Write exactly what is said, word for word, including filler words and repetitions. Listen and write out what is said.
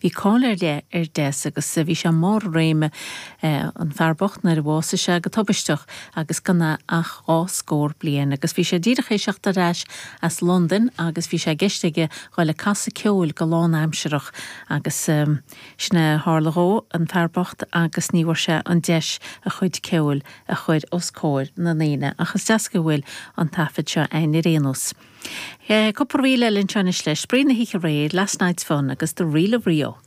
Bhí cáil ar leith ar Des agus bhí sé i mbarr a réime an fear bocht nuair a bhásaigh sé go tubaisteach agus gan é ach dhá scór bliain agus bhí sé díreach tar éis teacht ar ais as Londain agus bhí sé i gceist aige dhul ag casadh ceoil go lánaimsearach agus um, sin a tharla dhó an fear bocht agus ní bhfuair sé an deis a chuid ceoil a chur os comhair na ndaoine ach is deas go bhfuil an taifead seo againn ar aon nós. Cúpla ríl eile anseo leis Spraoi na hoíche aréir, Last Night's Fun agus The Reel of Rio.